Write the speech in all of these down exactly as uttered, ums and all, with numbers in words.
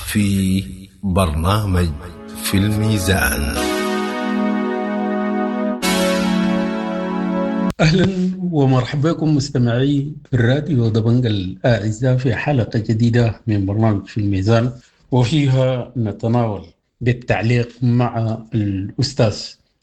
في برنامج في الميزان. أهلا ومرحبا بكم مستمعي الراديو دبنج الأعزاء في حلقة جديدة من برنامج في الميزان، وفيها نتناول بالتعليق مع الأستاذ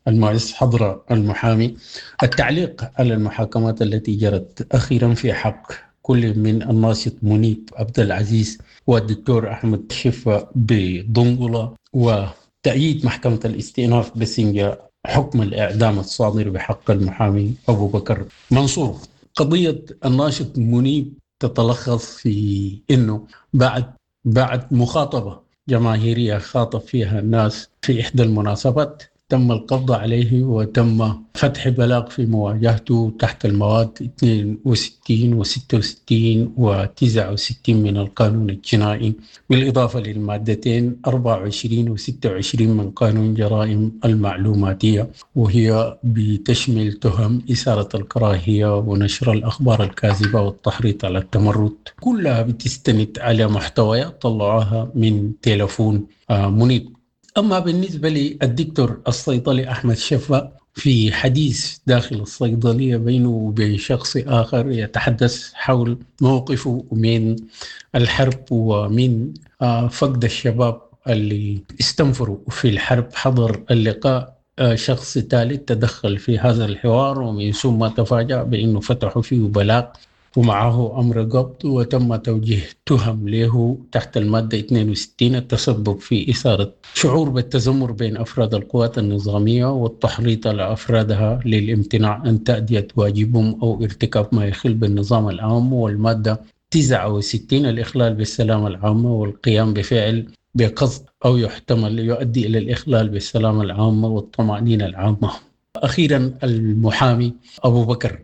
المعز حضرة المحامي التعليق على المحاكمات التي جرت أخيرا في حق كل من الناشط منيب عبد العزيز والدكتور أحمد شفا بدنقلة، وتأييد محكمة الاستئناف بسنجة حكم الإعدام الصادر بحق المحامي أبو بكر منصور. قضية الناشط منيب تتلخص في أنه بعد بعد مخاطبة جماهيرية خاطب فيها الناس في إحدى المناسبات تم القبض عليه وتم فتح بلاغ في مواجهته تحت المواد اثنين وستين وستة وستين وتسعة وستين من القانون الجنائي، بالإضافة للمادتين أربعة وعشرين وستة وعشرين من قانون جرائم المعلوماتية، وهي بتشمل تهم إثارة الكراهية ونشر الأخبار الكاذبة والتحريض على التمرد، كلها بتستند على محتويات طلعوها من تلفون منيب. أما بالنسبة للدكتور الصيدلي أحمد شفا، في حديث داخل الصيدلية بينه وبين شخص آخر يتحدث حول موقفه من الحرب ومن فقد الشباب اللي استنفروا في الحرب. حضر اللقاء شخص ثالث تدخل في هذا الحوار، ومن ثم تفاجأ بأنه فتحوا فيه بلاغ ومعه أمر قبض، وتم توجيه تهم له تحت المادة اثنين وستين التسبب في إثارة شعور بالتذمر بين أفراد القوات النظامية والتحريض على أفرادها للامتناع عن تأدية واجبهم أو ارتكاب ما يخل بالنظام العام، والمادة تسعة وستين الإخلال بالسلامة العامة والقيام بفعل بقصد أو يحتمل يؤدي إلى الإخلال بالسلامة العامة والطمأنينة العامة. أخيرا المحامي أبو بكر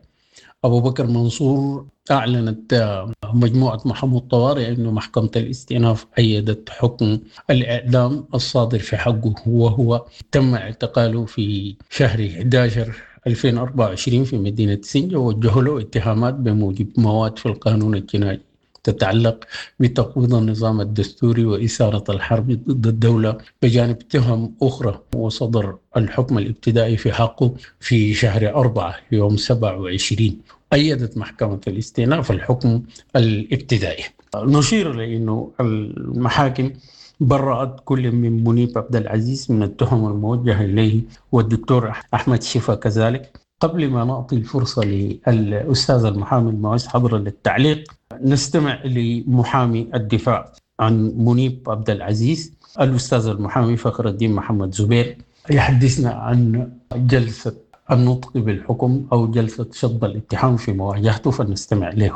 أبو بكر منصور، أعلنت مجموعة محمود طوارئ أنه محكمة الاستئناف أيدت حكم الإعدام الصادر في حقه، وهو تم اعتقاله في شهر أحد عشر ألفين وأربعة وعشرين في مدينة سنجة، ووجهوا له اتهامات بموجب مواد في القانون الجنائي تتعلق بتقويض النظام الدستوري وإثارة الحرب ضد الدولة بجانب تهم أخرى، وصدر الحكم الابتدائي في حقه في شهر أربعة يوم سبعة وعشرين. أيدت محكمة الاستئناف الحكم الابتدائي. نشير لأنه المحاكم برأت كل من منيب عبد العزيز من التهم الموجهة إليه والدكتور أحمد شفا كذلك. قبل ما نعطي الفرصة للأستاذ المحامي المعز حضرة للتعليق، نستمع لمحامي الدفاع عن منيب عبد العزيز الأستاذ المحامي فخر الدين محمد زبير يحدثنا عن جلسة النطق بالحكم أو جلسة شطب الاتهام في مواجهته، فنستمع له.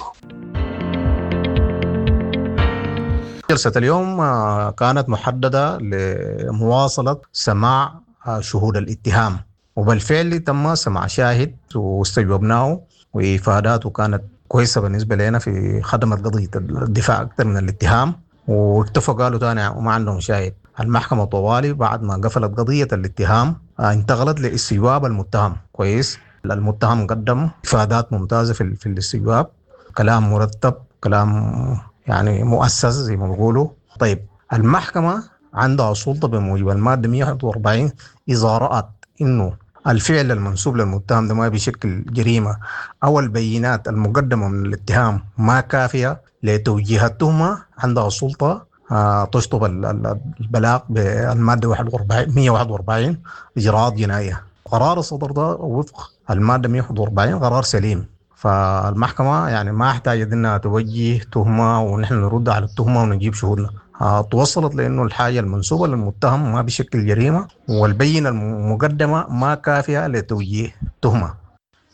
جلسة اليوم كانت محددة لمواصلة سماع شهود الاتهام، وبالفعل تم سماع شاهد واستجوبناه، وإفاداته كانت كويسة بالنسبة لنا في خدمة قضية الدفاع أكثر من الاتهام، واكتفوا قالوا تاني وما عندهم شاهد. المحكمة طوالي بعد ما قفلت قضية الاتهام انتقلت لاستجواب المتهم. كويس، المتهم قدم إفادات ممتازة في, في الاستجواب، كلام مرتب، كلام يعني مؤسس زي ما بيقولوا. طيب المحكمة عندها سلطة بموجب المادة مئة وواحد وأربعين إذا رأت إنه الفعل المنسوب للمتهم ده ما بيشكل جريمة أو البينات المقدمة من الاتهام ما كافية لتوجيه التهمة، عندها سلطة تشطب البلاغ بالمادة مئة وواحد وأربعين إجراءات جنائية. قرار الصدر ده وفق المادة مئة وواحد وأربعين قرار سليم، فالمحكمة يعني ما احتاجت إنها توجه تهمة ونحن نرد على التهمة ونجيب شهودنا. توصلت لأنه الحاجة المنسوبة للمتهم ما بشكل جريمة والبينة المقدمة ما كافية لتوجيه تهمة.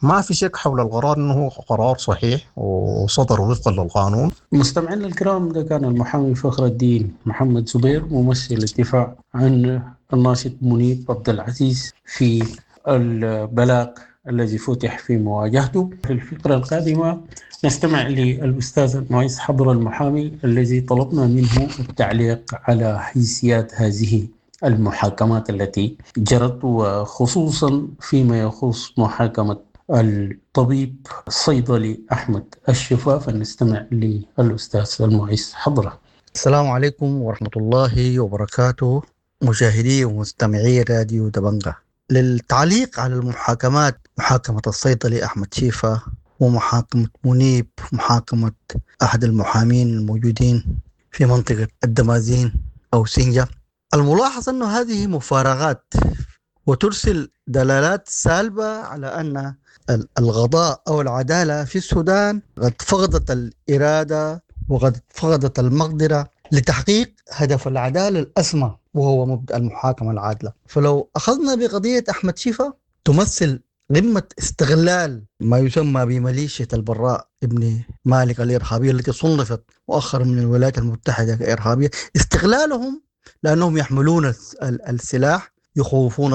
ما في شك حول القرار أنه قرار صحيح وصدر وفقا للقانون. مستمعينا الكرام، ده كان المحامي فخر الدين محمد زبير ممثل الدفاع عن الناشط منيب عبد العزيز في البلاغ الذي فتح في مواجهته. في الفقرة القادمة نستمع للأستاذ المعز حضر المحامي الذي طلبنا منه التعليق على حيثيات هذه المحاكمات التي جرت، وخصوصا فيما يخص محاكمة الطبيب الصيدلي أحمد الشفا. فنستمع للأستاذ المعز حضرة. السلام عليكم ورحمة الله وبركاته، مشاهدي ومستمعي راديو دبنجة. للتعليق على المحاكمات، محاكمة الصيدلي أحمد شيفا ومحاكمة منيب، محاكمة أحد المحامين الموجودين في منطقة الدمازين أو سنجة، الملاحظ أن هذه مفارقات وترسل دلالات سالبة على أن القضاء أو العدالة في السودان قد فقدت الإرادة وقد فقدت المقدرة لتحقيق هدف العدالة الأسمى وهو مبدأ المحاكمة العادلة. فلو أخذنا بقضية أحمد شيفا تمثل قمة استغلال ما يسمى بميليشيا البراء ابن مالك الإرهابية التي صنفت مؤخرا من الولايات المتحدة كإرهابية، استغلالهم لأنهم يحملون السلاح يخوفون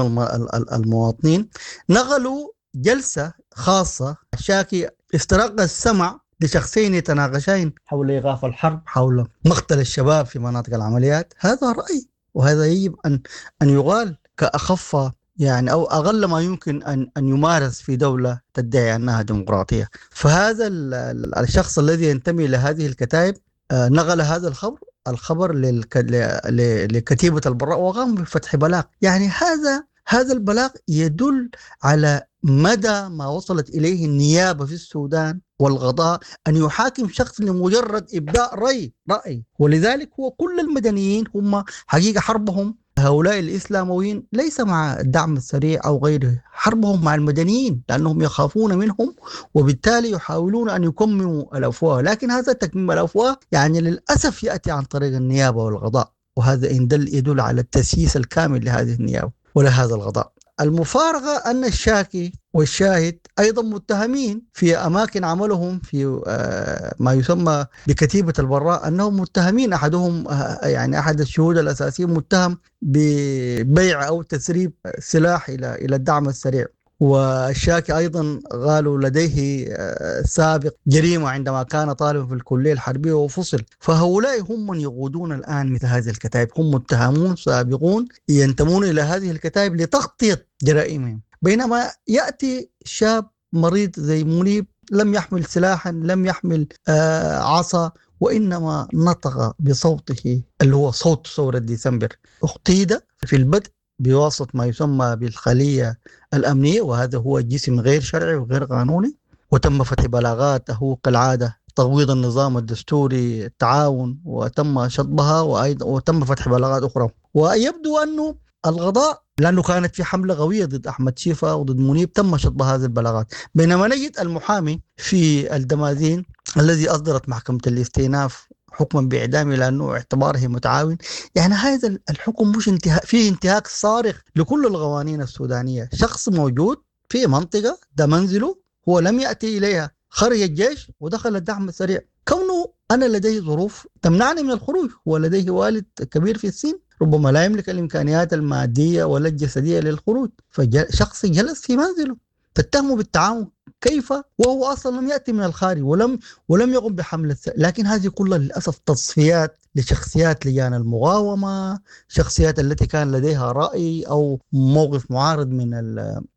المواطنين. نقلوا جلسة خاصة شاكي استرق السمع لشخصين يتناقشين حول إيقاف الحرب، حول مقتل الشباب في مناطق العمليات. هذا رأي، وهذا يجب أن أن يقال كأخف يعني أو أقل ما يمكن أن أن يمارس في دولة تدعي أنها ديمقراطية. فهذا الشخص الذي ينتمي لهذه الكتائب نقل هذا الخبر الخبر لكتيبة البراء وقام بفتح بلاغ. يعني هذا هذا البلاغ يدل على مدى ما وصلت إليه النيابة في السودان والقضاء أن يحاكم شخص لمجرد إبداء رأي رأي. ولذلك هو كل المدنيين هم حقيقة حربهم هؤلاء الإسلامويين ليس مع الدعم السريع أو غيره، حربهم مع المدنيين لأنهم يخافون منهم، وبالتالي يحاولون أن يكمموا الأفواه. لكن هذا تكميم الأفواه يعني للأسف يأتي عن طريق النيابة والقضاء، وهذا إن دل يدل على التسييس الكامل لهذه النيابة ولهذا القضاء. المفارقة أن الشاكي والشاهد أيضا متهمين في أماكن عملهم في ما يسمى بكتيبة البراء، أنهم متهمين، أحدهم يعني أحد الشهود الأساسيين متهم ببيع أو تسريب سلاح إلى إلى الدعم السريع، والشاكي أيضا قالوا لديه سابق جريمة عندما كان طالبا في الكلية الحربية وفصل. فهؤلاء هم من يقودون الآن مثل هذه الكتائب، هم متهمون سابقون ينتمون إلى هذه الكتائب لتغطية جرائمهم. بينما يأتي شاب مريض زي منيب لم يحمل سلاحا، لم يحمل عصا، وإنما نطق بصوته اللي هو صوت ثورة ديسمبر. اقتيد في البدء بواسطة ما يسمى بالخلية الأمنية، وهذا هو جسم غير شرعي وغير قانوني، وتم فتح بلاغاته كالعادة، تغويض النظام الدستوري، التعاون، وتم شطبها، وأيضا وتم فتح بلاغات أخرى. ويبدو أنه القضاء لأنه كانت في حملة قوية ضد أحمد شيفا وضد منيب تم شطب هذه البلاغات. بينما نجد المحامي في الدمازين الذي أصدرت محكمة الاستئناف حكما بإعدامه لأنه اعتباره متعاون، يعني هذا الحكم مش انتهاك، فيه انتهاك صارخ لكل القوانين السودانية. شخص موجود في منطقة ده منزله، هو لم يأتي إليها، خرج الجيش ودخل الدعم السريع. كونه أنا لديه ظروف تمنعني من الخروج، هو لديه والد كبير في السن ربما لا يملك الإمكانيات المادية ولا الجسدية للخروج، فشخص جلس في منزله تتهمه بالتعاون كيف وهو أصلا لم يأتي من الخارج ولم ولم يقم بحملة. لكن هذه كلها للأسف تصفيات لشخصيات لجان المقاومة، شخصيات التي كان لديها رأي أو موقف معارض من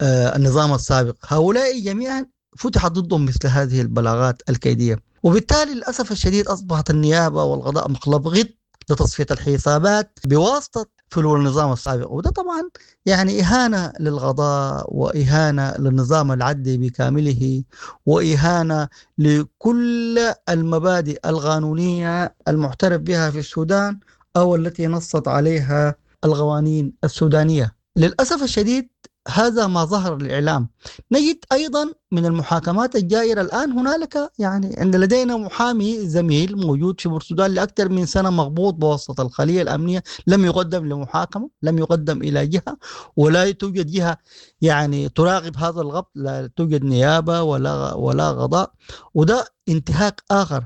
النظام السابق. هؤلاء جميعا فتحت ضدهم مثل هذه البلاغات الكيدية، وبالتالي للأسف الشديد أصبحت النيابة والقضاء مقلب غط لتصفية الحسابات بواسطة فلول النظام السابق. وده طبعا يعني إهانة للقضاء وإهانة للنظام العدلي بكامله وإهانة لكل المبادئ القانونية المعترف بها في السودان أو التي نصت عليها القوانين السودانية. للأسف الشديد هذا ما ظهر للإعلام. نجد أيضا من المحاكمات الجائرة الآن هنالك يعني عند لدينا محامي زميل موجود في بورسودان لأكثر من سنة مغبوط بواسطة الخلية الأمنية، لم يقدم لمحاكمة، لم يقدم إلى جهة، ولا توجد جهة يعني تراقب هذا الغبط، لا توجد نيابة ولا ولا قضاء. وده انتهاك آخر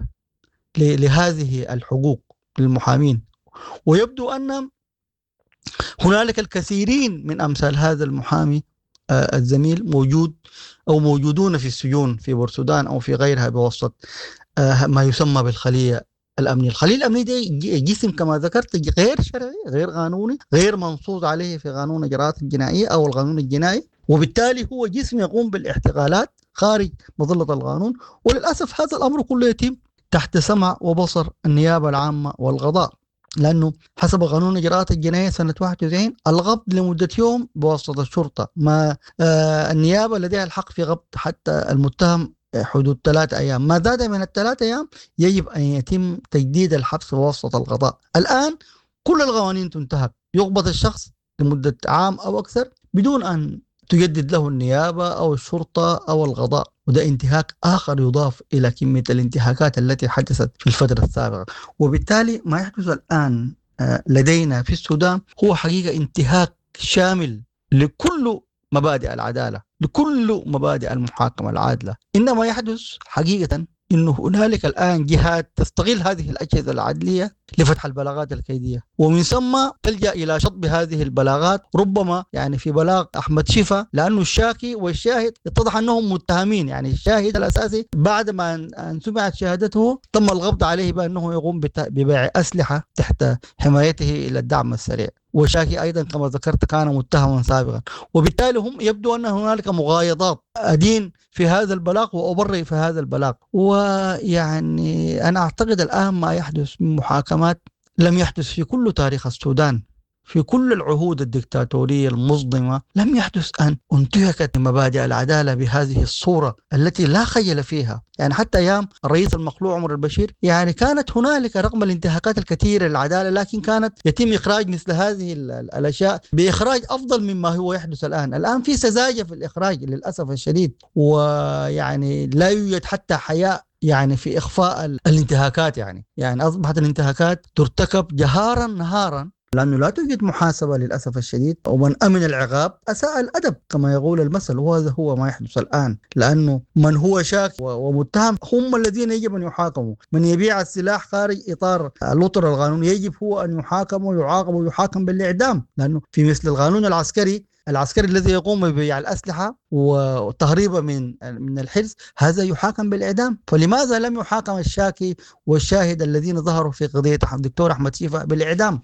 لهذه الحقوق للمحامين. ويبدو أن هنالك الكثيرين من أمثال هذا المحامي الزميل موجود أو موجودون في السجون في بورسودان أو في غيرها بواسطة ما يسمى بالخلية الأمنية. الخلية الأمنية دي جسم كما ذكرت غير شرعي، غير قانوني، غير منصوص عليه في قانون الإجراءات الجنائية أو القانون الجنائي، وبالتالي هو جسم يقوم بالاحتقالات خارج مظلة القانون. وللأسف هذا الأمر كله يتم تحت سمع وبصر النيابة العامة والقضاء، لأنه حسب قانون إجراءات الجناية سنة واحد وتسعين القبض لمدة يوم بواسطة الشرطة، ما آه النيابة لديها الحق في قبض حتى المتهم حدود ثلاثة أيام، ما زاد من الثلاثة أيام يجب أن يتم تجديد الحبس بواسطة القضاء. الآن كل القوانين تنتهك، يقبض الشخص لمدة عام أو أكثر بدون أن تجدد له النيابة أو الشرطة أو القضاء، وده انتهاك آخر يضاف إلى كمية الانتهاكات التي حدثت في الفترة السابقة. وبالتالي ما يحدث الآن لدينا في السودان هو حقيقة انتهاك شامل لكل مبادئ العدالة، لكل مبادئ المحاكمة العادلة. إنما يحدث حقيقة إنه هنالك الآن جهات تستغل هذه الأجهزة العدلية لفتح البلاغات الكيدية، ومن ثم تلجأ إلى شطب هذه البلاغات، ربما يعني في بلاغ أحمد شفا، لأنه الشاكي والشاهد اتضح أنهم متهمين، يعني الشاهد الأساسي بعد ما أن سمعت شهادته تم القبض عليه بأنه يقوم ببيع أسلحة تحت حمايته إلى الدعم السريع، وشاكي أيضا كما ذكرت كان متهما سابقا، وبالتالي هم يبدو أن هنالك مغايضات، أدين في هذا البلاغ وأبرئ في هذا البلاغ. ويعني أنا أعتقد الآن ما يحدث من محاكمات لم يحدث في كل تاريخ السودان، في كل العهود الدكتاتورية المظلمة لم يحدث أن انتهكت مبادئ العدالة بهذه الصورة التي لا خجل فيها. يعني حتى أيام الرئيس المخلوع عمر البشير يعني كانت هنالك رغم الانتهاكات الكثيرة للعدالة، لكن كانت يتم إخراج مثل هذه الأشياء بإخراج أفضل مما هو يحدث الآن. الآن في سذاجة في الإخراج للأسف الشديد، ويعني لا يوجد حتى حياء يعني في إخفاء الانتهاكات، يعني يعني أصبحت الانتهاكات ترتكب جهارا نهارا، لأنه لا توجد محاسبة للأسف الشديد، ومن أمن العقاب أساء الأدب كما يقول المثل، وهذا هو ما يحدث الآن. لأنه من هو شاك ومتهم هم الذين يجب أن يحاكموا، من يبيع السلاح خارج إطار الأطر القانوني يجب هو أن يحاكم ويعاقب ويحاكم بالإعدام، لأنه في مثل القانون العسكري، العسكري الذي يقوم ببيع الأسلحة وتهريبها من من الحرز هذا يحاكم بالإعدام. فلماذا لم يحاكم الشاكي والشاهد الذين ظهروا في قضية الدكتور أحمد شيفا بالإعدام؟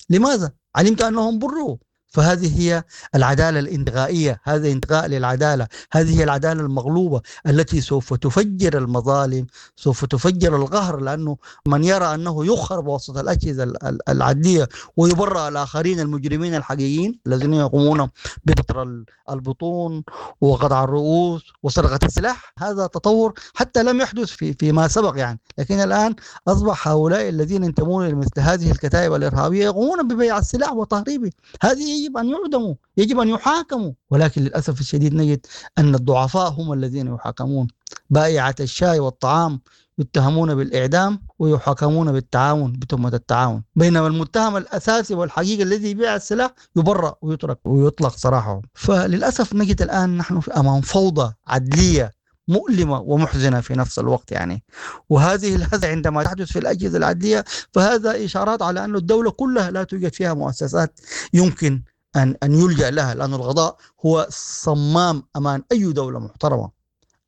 لماذا؟ علمت أنهم بروا. فهذه هي العدالة الانتقائية، هذا انتقاء للعدالة، هذه هي العدالة المغلوبة التي سوف تفجر المظالم، سوف تفجر القهر، لأنه من يرى أنه يخر بواسطة الأجهزة العدلية ويبرأ الآخرين المجرمين الحقيقيين الذين يقومون ببتر البطون وقطع الرؤوس وسرقة السلاح، هذا تطور حتى لم يحدث في فيما سبق يعني. لكن الآن أصبح هؤلاء الذين ينتمون لمثل هذه الكتائب الإرهابية يقومون ببيع السلاح وتهريبه، هذه يجب أن يعدموا، يجب أن يحاكموا. ولكن للأسف الشديد نجد أن الضعفاء هم الذين يحاكمون، بائعة الشاي والطعام يتهمون بالإعدام ويحاكمون بالتعاون بتهمة التعاون، بينما المتهم الأساسي والحقيقي الذي يبيع السلاح يبرأ ويترك ويطلق سراحه. فللأسف نجد الآن نحن في أمام فوضى عدلية مؤلمة ومحزنة في نفس الوقت يعني. وهذه الهزة عندما تحدث في الأجهزة العدلية فهذا إشارات على أن الدولة كلها لا توجد فيها مؤسسات يمكن أن أن يلجأ لها، لأن القضاء هو صمام أمان أي دولة محترمة.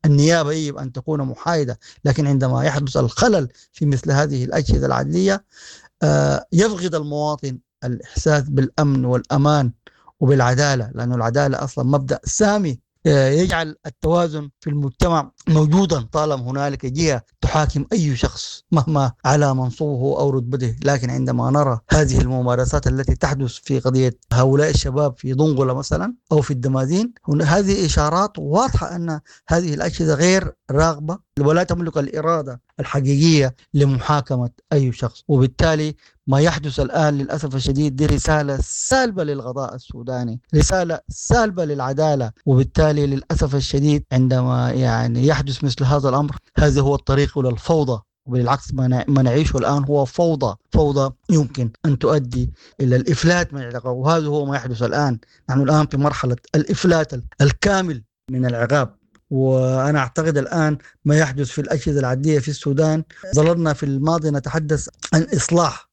النيابة يجب أن تكون محايدة، لكن عندما يحدث الخلل في مثل هذه الأجهزة العدلية يفقد المواطن الإحساس بالأمن والأمان وبالعدالة، لأن العدالة أصلا مبدأ سامي يجعل التوازن في المجتمع موجودا طالما هنالك جهة تحاكم أي شخص مهما على منصبه أو رتبته. لكن عندما نرى هذه الممارسات التي تحدث في قضية هؤلاء الشباب في دنقلة مثلا أو في الدمازين، هذه إشارات واضحة أن هذه الأجهزة غير راغبة ولا تملك الإرادة الحقيقية لمحاكمة أي شخص. وبالتالي ما يحدث الآن للأسف الشديد دي رسالة سالبة للقضاء السوداني، رسالة سالبة للعدالة. وبالتالي للأسف الشديد عندما يعني يحدث مثل هذا الأمر هذا هو الطريق إلى الفوضى، وبالعكس ما نعيشه الآن هو فوضى، فوضى يمكن أن تؤدي إلى الإفلات من العقاب، وهذا هو ما يحدث الآن. نحن الآن في مرحلة الإفلات الكامل من العقاب. وأنا أعتقد الآن ما يحدث في الأجهزة العدلية في السودان، ظللنا في الماضي نتحدث عن إصلاح،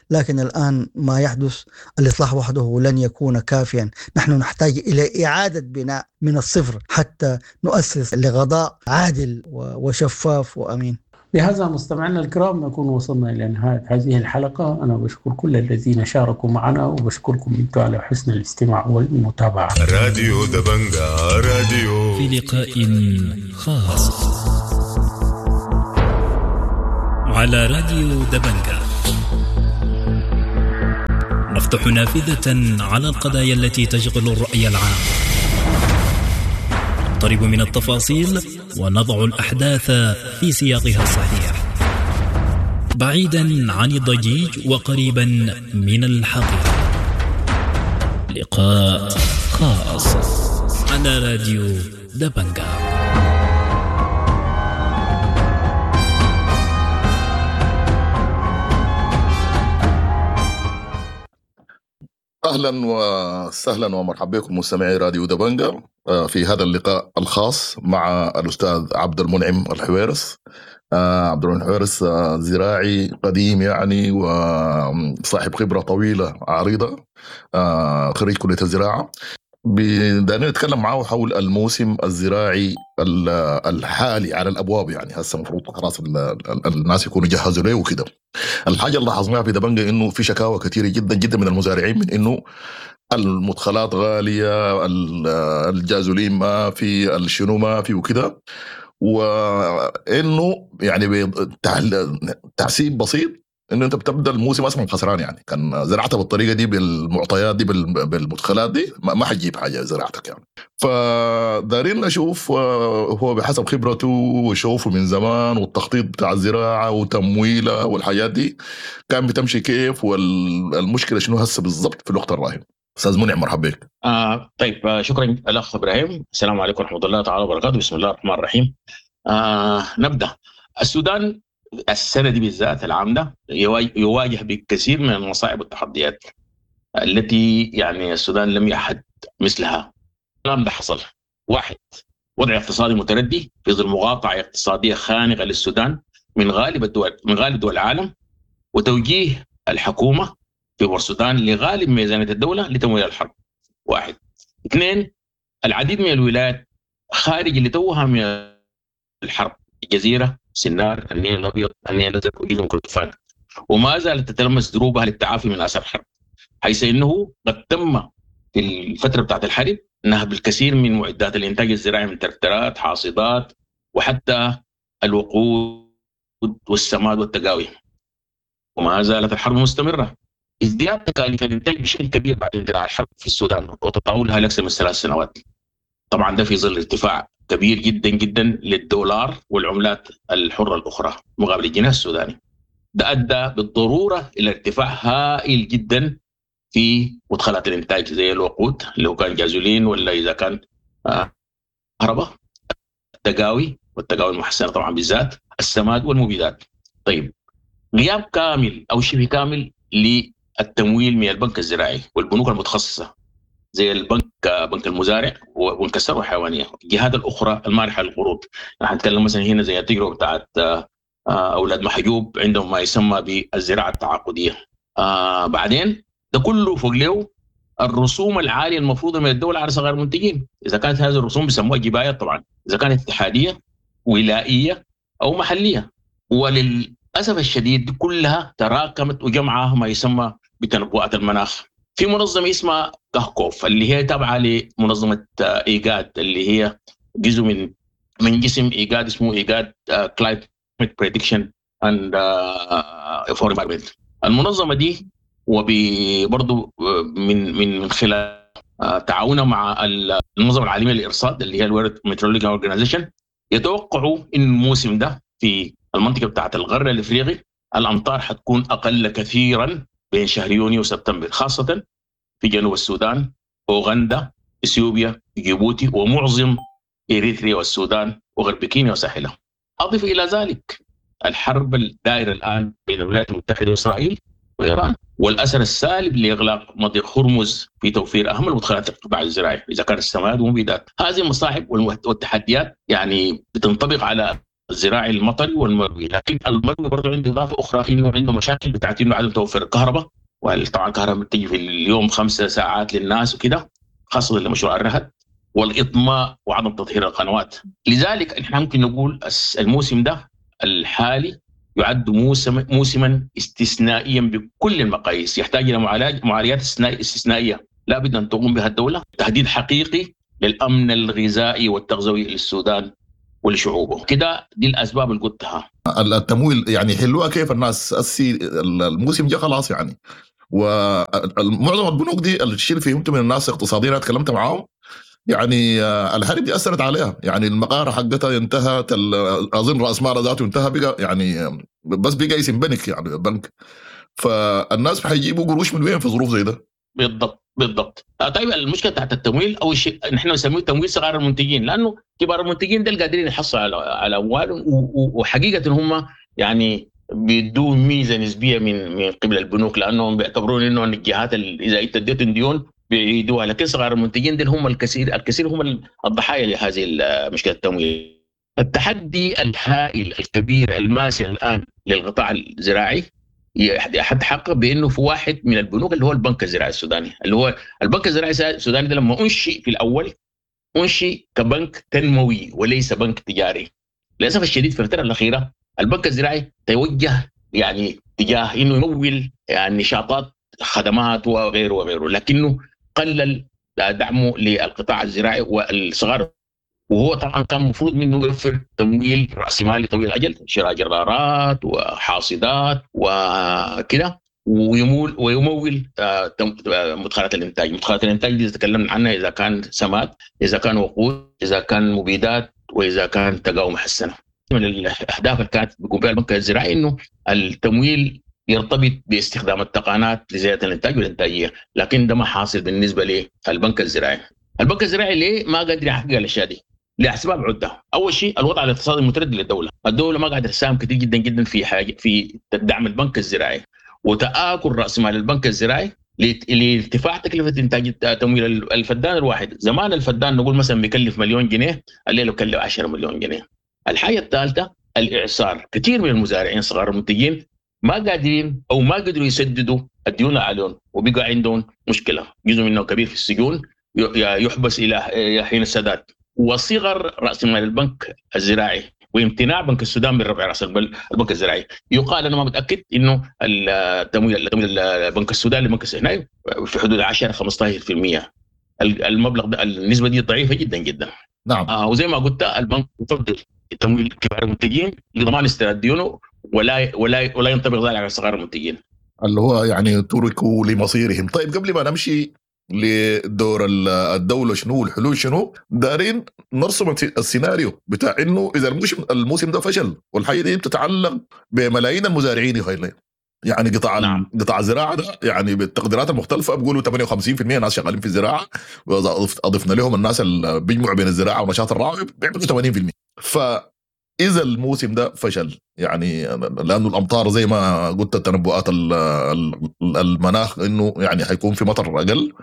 لكن الآن ما يحدث الإصلاح وحده لن يكون كافيا. نحن نحتاج إلى إعادة بناء من الصفر حتى نؤسس لغضاء عادل وشفاف وأمين. بهذا مستمعينا الكرام نكون وصلنا إلى نهاية هذه الحلقة. أنا بشكر كل الذين شاركوا معنا وبشكركم أنتم على حسن الاستماع والمتابعة. راديو دبنجا راديو في لقاء خاص. على راديو دبنجا نفتح نافذة على القضايا التي تشغل الرأي العام، نقترب من التفاصيل ونضع الأحداث في سياقها الصحيح، بعيدا عن الضجيج وقريبا من الحقيقة. لقاء خاص على راديو دبنجا. أهلا وسهلا ومرحبا بكم مستمعي راديو دبنجا في هذا اللقاء الخاص مع الأستاذ عبد المنعم الحويرس. عبد المنعم الحويرس زراعي قديم يعني وصاحب خبرة طويلة عريضة، خريج كلية الزراعة. بدنا نتكلم معه حول الموسم الزراعي الحالي على الأبواب، يعني هسه المفروض خلاص الناس يكونوا جهزوا له وكده. الحاجة اللي لاحظناها في دبنجة إنه في شكاوى كثيرة جدا جدا من المزارعين من إنه المدخلات غالية، الجازولين ما في، الشنو ما في وكده، وإنه يعني بتحسيب بسيط إنه أنت بتبدأ الموسم أصلا خسران، يعني كان زرعتها بالطريقة دي بالمعطيات دي بالمدخلات دي ما حتجيب حاجة زراعتك يعني. فدارين نشوف هو بحسب خبرته وشوفه من زمان والتخطيط بتاع الزراعة وتمويلها والحاجات دي كان بتمشي كيف، والمشكلة شنو هسه بالضبط في الوقت الراهن. أستاذ منعم مرحبا بك. آه طيب آه شكرا الأخ إبراهيم. السلام عليكم ورحمة الله تعالى وبركاته. بسم الله الرحمن الرحيم. آه نبدأ. السودان السنة دي بالذات العام ده يواجه بكثير من المصاعب والتحديات التي يعني السودان لم يعهد مثلها. الكلام ده حصل: واحد، وضع اقتصادي متردي في ظل مقاطعة اقتصادية خانقة للسودان من غالب الدول من غالب دول العالم، وتوجيه الحكومة في بورسودان لغالب ميزانية الدولة لتمويل الحرب. واحد. اثنين، العديد من الولايات خارج اللي توها من الحرب، الجزيرة، سنار، النيل الأبيض، النيل الأزرق، وجزر كردفان، وما زالت تتلمس دروبها للتعافي من آثار الحرب، حيث إنه قد تم في الفترة بتاعت الحرب نهب الكثير من معدات الإنتاج الزراعي من تركترات، حاصدات، وحتى الوقود والسماد والتقاوي. وما زالت الحرب مستمرة. ازدياد تكاليف الإنتاج بشكل كبير بعد اندلاع الحرب في السودان وتطاولها لأكثر من ثلاث سنوات. طبعا ده في ظل ارتفاع كبير جدا جدا للدولار والعملات الحرة الأخرى مقابل الجنيه السوداني. ده أدى بالضرورة إلى ارتفاع هائل جدا في مدخلات الإنتاج زي الوقود لو كان جازولين ولا إذا كان كهرباء، التقاوي والتقاوي المحسنة طبعا بالذات، السماد والمبيدات. طيب، غياب كامل أو شبه كامل للتمويل من البنك الزراعي والبنوك المتخصصة زي البنك بنك المزارع وبنك الثروة الحيوانية، الجهات الاخرى المانحه للقروض. نحن نتكلم مثلا هنا زي التجربة بتاعت اولاد محجوب عندهم ما يسمى بالزراعة التعاقديه. آه بعدين ده كله فوق له الرسوم العالية المفروضة من الدولة على صغار المنتجين، اذا كانت هذه الرسوم بيسموها جبايه طبعا، اذا كانت اتحادية ولائيه او محليه. وللاسف الشديد كلها تراكمت وجمعها ما يسمى بتنبؤات المناخ. في منظمة اسمها كهكوف اللي هي تابعه لمنظمة ايجاد، اللي هي جزء من من جسم ايجاد اسمه ايجاد Climate Prediction and for Environment. المنظمة دي وبرضه من من من خلال تعاونها مع المنظمة العالمية للارصاد اللي هي ال World Meteorological Organization، يتوقعوا ان الموسم ده في المنطقة بتاعه الغرب الافريقي الامطار حتكون اقل كثيرا بين شهر يونيو وسبتمبر، خاصة في جنوب السودان، أوغندا، إثيوبيا، جيبوتي، ومعظم إريتريا والسودان وغرب كينيا وساحلها. أضف إلى ذلك الحرب الدائرة الآن بين الولايات المتحدة وإسرائيل وإيران، والأثر السالب لإغلاق مضيق هرمز في توفير أهم المدخلات للقطاع الزراعي إذا كان السماد والمبيدات. هذه المصاعب والتحديات يعني بتنطبق على الزراعي المطري والمروي، لكن المروي برضه عنده اضافه اخرى انه عنده مشاكل بتاعت انه عدم توفر الكهرباء، وطبعا الكهرباء بتيجي في اليوم خمسة ساعات للناس وكده، خاصة لمشروع الرهد والاطماء وعدم تطهير القنوات. لذلك احنا ممكن نقول الموسم ده الحالي يعد موسم موسما استثنائيا بكل المقاييس، يحتاج الى معالجات استثنائية لا بد ان تقوم بها الدولة، تهديد حقيقي للامن الغذائي والتغذوي للسودان ولشعوبه. كده دي الأسباب اللي قلتها. التمويل يعني حلوها كيف الناس السي الموسم جاء خلاص يعني، ومعظم البنوك دي الشيء اللي فهمته من الناس اقتصاديين انا تكلمت معاهم يعني الحرب دي اثرت عليها، يعني المقاره حقتها انتهت، اظن راس مالها ذاته انتهى، بقى يعني بس بقى اسم بنك يعني بنك، فالناس حيجيبوا قروش من وين في ظروف زي ده؟ بالضبط بالضبط. طيب المشكلة تحت التمويل، اول شيء نحن نسميه تمويل صغار المنتجين، لانه كبار المنتجين دول قادرين يحصلوا على على اموالهم، وحقيقة هم يعني بيدوا ميزة نسبيه من من قبل البنوك، لانهم بيعتبرون انه الجهات اذا انت اديتهم ديون بيعيدوها، لكن صغار المنتجين دول هم الكثير الكثير هم الضحايا لهذه مشكلة التمويل. التحدي الهائل الكبير الماسع الان للقطاع الزراعي يتحقق بانه في واحد من البنوك اللي هو البنك الزراعي السوداني، اللي هو البنك الزراعي السوداني ده لما انشئ في الاول انشئ كبنك تنموي وليس بنك تجاري. للاسف الشديد في الفترة الاخيرة البنك الزراعي توجه يعني تجاه انه يمول يعني نشاطات خدمات وغيره وغيره، لكنه قلل دعمه للقطاع الزراعي والصغار، وهو طبعا كان المفروض منه يوفر تمويل راسمالي طويل الاجل، شراء جرارات وحاصدات وكده، ويمول ويمول مدخلات الانتاج. مدخلات الانتاج دي تكلمنا عنها، اذا كان سماد، اذا كان وقود، اذا كان مبيدات، واذا كان تقاوم محسنة. من الاهداف اللي كانت بيقوم بها البنك الزراعي انه التمويل يرتبط باستخدام التقنيات لزيادة الانتاج والانتاجية، لكن ده ما حاصل بالنسبة للبنك الزراعي. البنك الزراعي ليه ما قادر يحقق الاشياء دي؟ لاسباب عده. اول شيء الوضع الاقتصادي المتردي للدولة، الدولة ما قاعدة تساهم كثير جدا جدا في حاجة في دعم البنك الزراعي، وتآكل راس مال البنك الزراعي لارتفاع تكلفة انتاج تمويل الفدان الواحد. زمان الفدان نقول مثلا بيكلف مليون جنيه، الليلة بيكلف عشرة مليون جنيه. الحاجة الثالثة الاعصار، كثير من المزارعين صغار المنتجين ما قادرين او ما قدروا يسددوا الديون عليهم، وبقى عندهم مشكلة، جزء منهم كبير في السجون يحبس الى حين السداد. وصغر راس مال البنك الزراعي وامتناع بنك السودان من رفع راس البنك الزراعي. يقال انا ما متاكد انه التمويل تمويل بنك السودان لبنك السودان في حدود عشرة خمسة عشر بالمئة. المبلغ ده النسبة دي ضعيفة جدا جدا. نعم. آه وزي ما قلت البنك يفضل تمويل كبار المنتجين لضمان استرداد ديونه، ولا ولا ولا ينطبق ذلك على صغار المنتجين اللي هو يعني تركوا لمصيرهم. طيب قبل ما نمشي لدور الدولة شنو والحلول شنو، دارين نرسم السيناريو بتاع انه اذا الموسم الموسم ده فشل، والحاجة دي بتتعلق بملايين المزارعين يا خيلي، يعني قطاع نعم. قطاع الزراعة ده يعني بالتقديرات المختلفة بيقولوا ثمانية وخمسين بالمئة ناس شغالين في الزراعة، واضفنا لهم الناس اللي بيجمعوا بين الزراعة ونشاط الرعي بيعملوا ثمانين بالمئة. فاذا الموسم ده فشل يعني لانه الامطار زي ما قلت التنبؤات المناخ انه يعني حيكون في مطر اقل،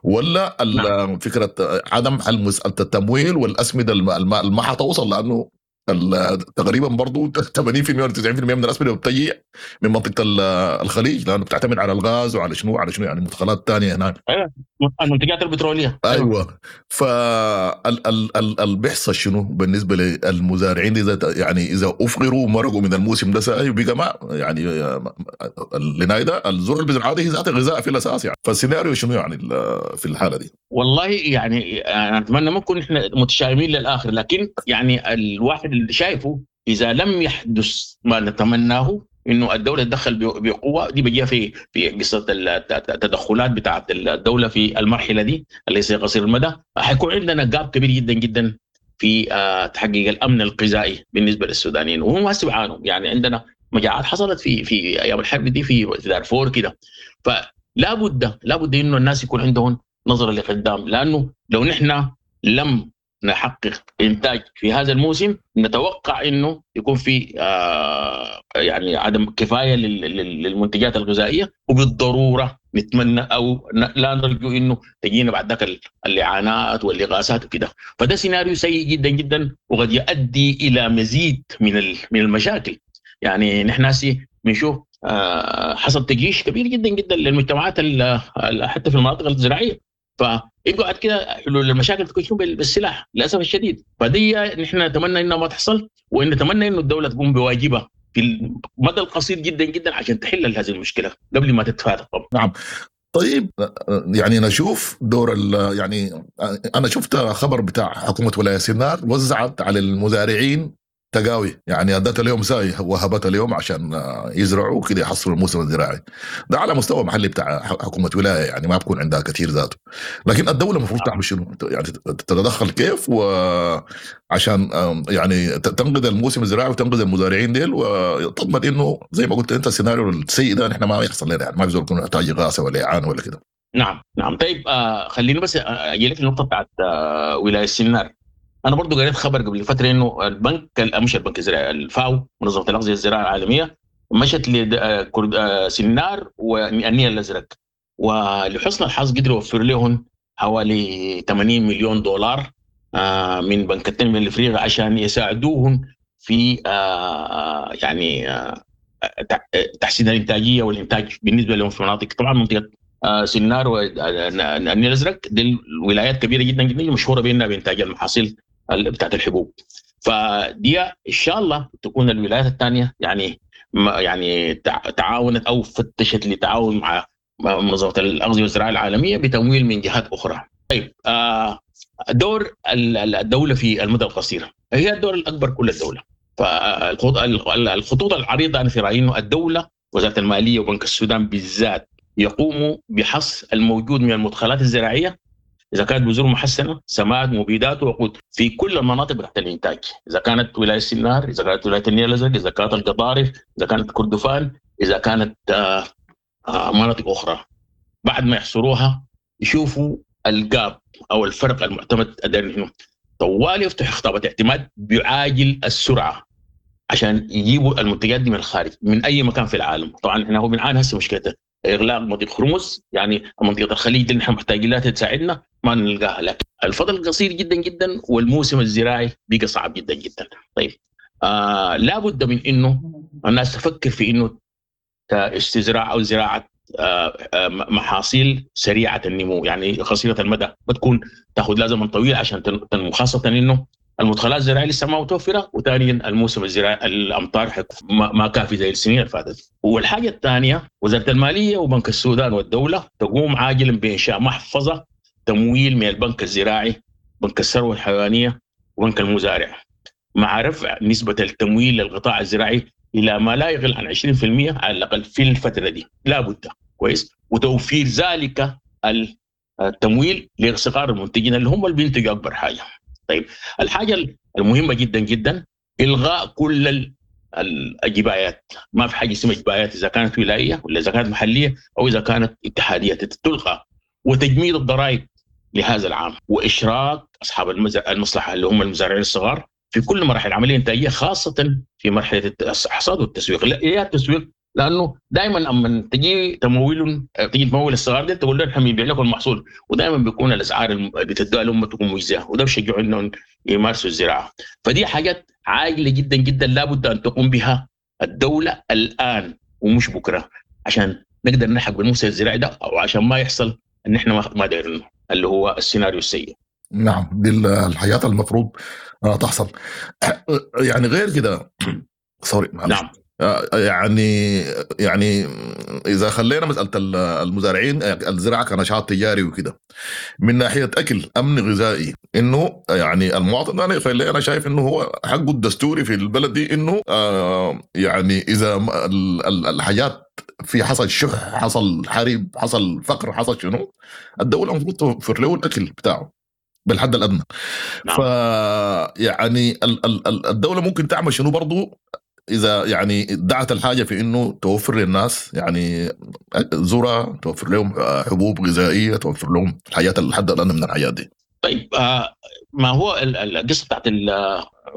ولا نعم. فكرة عدم حل مسالة التمويل والاسمده ما حتوصل، لانه تقريبا برضو ثمانين بالمئة ولا تسعين بالمئة من الاسمده بتجي من منطقة الخليج، لانه بتعتمد على الغاز وعلى شنو على شنو يعني مدخلات ثانية هناك. ايوه المنتجات البتروليه. ايوه فال بيحصل شنو بالنسبة للمزارعين اذا يعني اذا افقروا ومرقوا من الموسم ده ساي وبقى ما يعني لنايدا الزرع اللي بيزرعها هي ذات غذاء في الاساس يعني، فالسيناريو شنو يعني في الحالة دي؟ والله يعني انا اتمنى ما نكون احنا متشائمين للاخر، لكن يعني الواحد اللي شايفه اذا لم يحدث ما نتمناه انه الدولة تدخل بقوة، دي بيجيها في في قصة التدخلات بتاعه الدولة في المرحلة دي اللي هي قصير المدى، حيكون عندنا جاب كبير جدا جدا في تحقيق الامن الغذائي بالنسبة للسودانيين، وهم هسه بيعانوا. يعني عندنا مجاعات حصلت في في ايام الحرب دي في دارفور كده، فلا بد لا بد انه الناس يكون عندهم نظره لقدام، لانه لو نحن لم نحقق انتاج في هذا الموسم نتوقع انه يكون في آه يعني عدم كفاية للمنتجات الغذائية، وبالضروره نتمنى او لا نرجو انه تجينا بعد ذاك الاعانات والاغاثات وكده. فده سيناريو سيء جدا جدا، وقد يؤدي الى مزيد من من المشاكل. يعني نحن هسي بنشوف آه حصل تجيش كبير جدا جدا للمجتمعات حتى في المناطق الزراعية، فيبقى بعد كده حلول المشاكل تكون شنو بالسلاح للاسف الشديد. فدي نحن نتمنى انها ما تحصل، وان نتمنى انه الدولة تقوم بواجبها في المدى القصير جدا جدا عشان تحل هذه المشكلة قبل ما تتفاقم. نعم. طيب يعني نشوف دور يعني انا شفت خبر بتاع حكومة ولاية سنار وزعت على المزارعين تقاوي، يعني ادت اليوم ساي وهبت اليوم عشان يزرعوا كده يحصلوا الموسم الزراعي ده على مستوى محلي بتاع حكومة ولاية، يعني ما بكون عندها كثير ذاته. لكن الدولة المفروض تعمل شنو؟ يعني تتدخل كيف وعشان يعني تنقذ الموسم الزراعي وتنقذ المزارعين ديل، وتضمن انه زي ما قلت انت السيناريو السيء ده نحن ما يحصل لنا، يعني ما بيزول يكون يحتاج اغاثه ولا اعانه ولا كده. نعم نعم. طيب آه خليني بس اجي لك النقطة بتاعت آه ولاية السنار. انا برضو قريت خبر قبل فترة انه البنك مش البنك الزراعي، الفاو منظمة الاغذية الزراعية العالمية مشت لسنار والنيل الازرق، ولحسن الحظ قدروا يوفر لهم حوالي ثمانين مليون دولار من بنك التنمية الافريقي عشان يساعدوهم في يعني تحسين الانتاجية والانتاج بالنسبة لهم في مناطق، طبعا منطقة سنار والنيل الازرق دي الولايات كبيرة جدا جدا مشهورة بانها بانتاج المحاصيل بتاعت الحبوب. فدي ان شاء الله تكون الولايات الثانية يعني يعني تعاونت او فتشت لتعاون مع منظمة الاغذية والزراعة العالمية بتمويل من جهات اخرى. طيب دور الدولة في المدى القصير هي الدور الاكبر كل الدولة. فالخطوط العريضة انا في رايي انه الدولة وزارة المالية وبنك السودان بالذات يقوموا بحصر الموجود من المدخلات الزراعية، اذا كانت بذور محسنة، سماد، مبيدات، وقود في كل المناطق تحت الانتاج، اذا كانت ولاية السنار، اذا كانت ولاية النيل الازرق، اذا كانت القضارف، اذا كانت كردفان، اذا كانت آه آه مناطق اخرى. بعد ما يحصروها يشوفوا الجاب او الفرق المعتمد هنا، طوال يفتح خطابه اعتماد بعاجل السرعة عشان يجيبوا المنتجات دي من الخارج من اي مكان في العالم. طبعا احنا هو بنعاني هسه مشكلته اغلاق مضيق هرمز، يعني منطقة الخليج اللي نحن محتاجين لها تساعدنا ما نلقاها، لكن الفضل قصير جدا جدا والموسم الزراعي بقى صعب جدا جدا. طيب آه لابد من انه الناس تفكر في انه استزراع او زراعة آه آه محاصيل سريعة النمو، يعني قصيرة المدى، بتكون تاخذ لها زمن طويل عشان تنمو، خاصة انه المدخلات الزراعية لسه ما متوفرة، وثانيا الموسم الزراعي الامطار ما كافي زي السنين اللي فاتت. والحاجة الثانية وزارة المالية وبنك السودان والدولة تقوم عاجلا بانشاء محفظة تمويل من البنك الزراعي، بنك الثروة الحيوانية، وبنك المزارع، مع رفع نسبه التمويل للقطاع الزراعي الى ما لا يقل عن عشرين بالمئة على الاقل في الفترة دي، لابد كويس، وتوفير ذلك التمويل لصغار المنتجين اللي هم اللي بينتجوا اكبر حاجة. طيب الحاجة المهمة جدا جدا الغاء كل الجبايات، ما في حاجة اسمها جبايات اذا كانت ولاية ولا اذا كانت محليه او اذا كانت اتحادية تلغى، وتجميد الضرائب لهذا العام، واشراك اصحاب المصلحة اللي هم المزارعين الصغار في كل مراحل العملية الانتاجية، خاصة في مرحلة الحصاد والتسويق. لا يا التسويق، لانه دائما اما تجي تمويل تجي تمول الصغار دي تقول لهم احنا بنبيع لكم المحصول، ودائما بيكون الاسعار اللي بتدوها لهم تكون مجزية، وده بيشجعوا انهم يمارسوا الزراعة. فدي حاجات عاجله جدا جدا لابد ان تقوم بها الدولة الان ومش بكره، عشان نقدر نلحق بالموسم الزراعي ده، او عشان ما يحصل ان احنا ما دايرينه اللي هو السيناريو السيء. نعم، دي الحياة المفروض تحصل. يعني غير كده سوري معلش. نعم. يعني يعني اذا خلينا مسالة المزارعين الزراعة كنشاط تجاري وكده، من ناحية اكل امن غذائي، انه يعني المواطن انا انا شايف انه هو حقه الدستوري في البلد دي، انه يعني اذا الحاجات في حصل شح، حصل حرب، حصل فقر، حصل شنو، الدولة المفروض توفر له الاكل بتاعه بالحد الادنى. نعم. ف يعني الدولة ممكن تعمل شنو برضو إذا يعني دعت الحاجة في إنه توفر للناس يعني ذرة، توفر لهم حبوب غذائية، توفر لهم الحياة الحد الأدنى من الحياة دي. طيب آه ما هو القصة بتاعت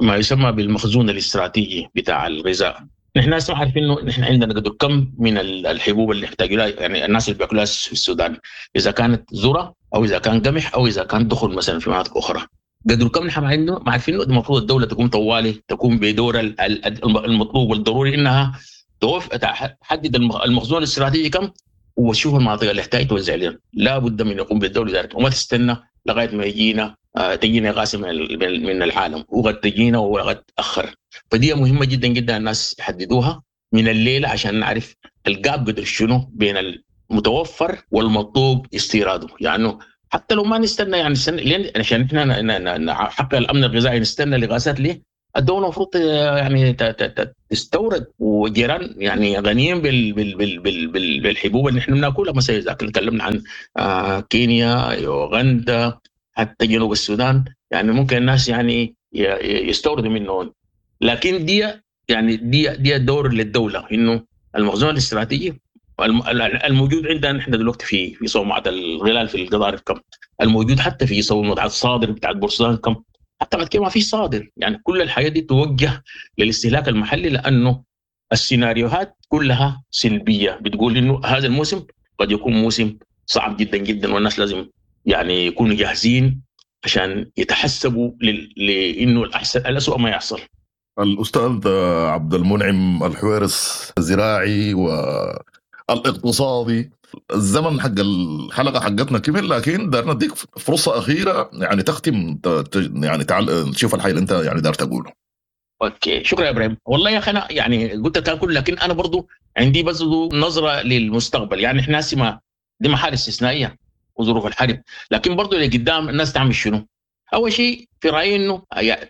ما يسمى بالمخزون الاستراتيجي بتاع الغذاء. نحن هسه عارفين إنه نحن عندنا قدر كم من الحبوب اللي يحتاجوا لها، يعني الناس اللي بياكلوها في السودان، إذا كانت ذرة أو إذا كان قمح أو إذا كان دخل مثلا في مناطق أخرى. قدر كم نحن عندنا ما عارفين. المفروض الدولة تقوم طوالي تقوم بدور المطلوب والضروري انها توف تحدد المخزون الاستراتيجي كم، وتشوف المناطق اللي تحتاج توزع لهم. لا بد من يقوم بالدولة ذلك، وما تستنى لغاية ما يجينا تجينا غاز من العالم، وقد تجينا وقد تاخر. فدي مهمة جدا جدا الناس يحددوها من الليلة عشان نعرف الجاب قدر شنو بين المتوفر والمطلوب استيراده. يعني حتى لو ما نستنى يعني نستنى لين عشان احنا نحقق الامن الغذائي نستنى لغازات ليه؟ الدولة المفروض يعني تستورد، وجيران يعني غنيين بال بال بال بال بال بالحبوب اللي احنا بناكلها. مثلا اذا تكلمنا عن كينيا، يوغندا، حتى جنوب السودان، يعني ممكن الناس يعني يستوردوا منهم. لكن دي يعني دي دي دور للدولة، انه المخزون الاستراتيجي الموجود عندنا نحن دلوقتي في في صومعه الغلال في القضارف كم، الموجود حتى في صومعه الصادر بتاعت بورسودان كم، حتى بعد كده ما في صادر. يعني كل الحياة دي توجه للاستهلاك المحلي، لانه السيناريوهات كلها سلبية بتقول انه هذا الموسم قد يكون موسم صعب جدا جدا، والناس لازم يعني يكونوا جاهزين عشان يتحسبوا لانه الاحسن الاسوء ما يحصل. الاستاذ عبد المنعم الحويرس، الزراعي والاقتصادي، الزمن حق الحلقة حقتنا كمل، لكن دارنا نديك فرصة اخيرة يعني تختم يعني تعال تشوف الحاجة اللي انت يعني دار تقوله. okay، شكرا يا ابراهيم. والله يا اخي انا يعني قلت الكلام كله، لكن انا برضو عندي بس نظره للمستقبل. يعني احنا ما دي محال استثنائية وظروف الحرب، لكن برضو اللي قدام الناس تعمل شنو؟ اول شيء في رايي انه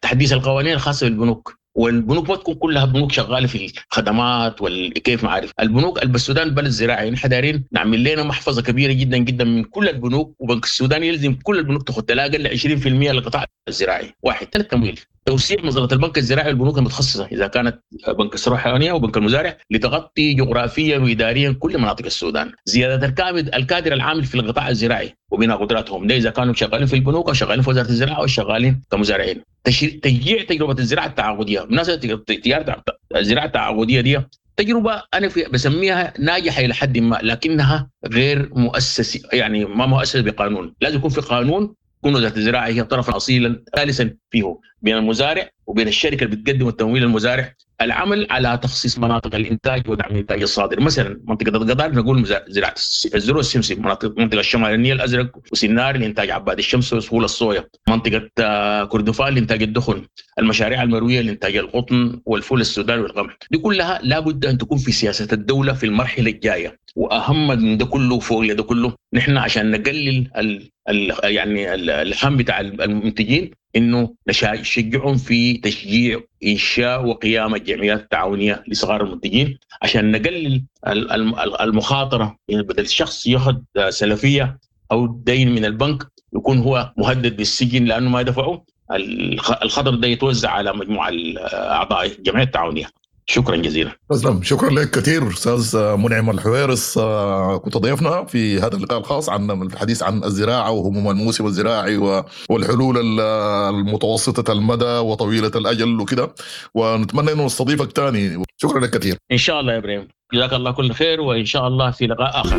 تحديث القوانين الخاصة بالبنوك، والبنوك ما تكون كلها بنوك شغالة في الخدمات والكيف ما عارف. البنوك السودان بلد زراعي، نحن دايرين نعمل لنا محفظة كبيرة جدا جدا من كل البنوك، وبنك السودان يلزم كل البنوك تاخذ لا اقل عشرين بالمئة للقطاع الزراعي. واحد. ثلاث، تمويل، توسيع مظلة البنك الزراعي والبنوك المتخصصة اذا كانت بنك الثروة الحيوانية وبنك المزارع لتغطي جغرافيا واداريا كل مناطق السودان. زيادة الكادر الكادر العامل في القطاع الزراعي وبناء قدراتهم، ده اذا كانوا شغالين في البنوك او شغالين في وزارة الزراعة او شغالين كمزارعين. تشجيع تجربه الزراعة التعاقديه، بالمناسبة تجارة الزراعة التعاقديه دي تجربه انا في بسميها ناجحة الى حد ما، لكنها غير مؤسسة، يعني ما مؤسسة بقانون. لازم يكون في قانون تكون وزارة الزراعة هي طرفا اصيلا ثالثا فيه بين المزارع وبين الشركة اللي بتقدم التمويل للمزارع. العمل على تخصيص مناطق الانتاج ودعم الانتاج الصادر، مثلا منطقة القضارف نقول زراعة الذرة السمسم، مناطق منطقة الشمال النيل الازرق وسنار لانتاج عباد الشمس وسهول الصويا، منطقة كردفان لانتاج الدخن، المشاريع المروية لانتاج القطن والفول السوداني والقمح. دي كلها لابد ان تكون في سياسة الدولة في المرحلة الجاية. واهم من ده كله فوق ده كله، نحن عشان نقلل ال ال يعني الهم بتاع المنتجين، انه نشجعهم في تشجيع انشاء وقيام الجمعيات التعاونية لصغار المنتجين عشان نقلل المخاطرة. يعني بدل الشخص ياخذ سلفية او دين من البنك يكون هو مهدد بالسجن لانه ما دفعه، الخطر ده يتوزع على مجموعة اعضاء الجمعية التعاونية. شكرا جزيلا. تسلم، شكرا لك كثير استاذ منعم الحويرس، كنت ضيفنا في هذا اللقاء الخاص عن الحديث عن الزراعة وهموم الموسم الزراعي والحلول المتوسطة المدى وطويلة الاجل وكده، ونتمنى انه نستضيفك ثاني. شكرا لك كثير. ان شاء الله يا ابراهيم، جزاك الله كل خير، وان شاء الله في لقاء اخر.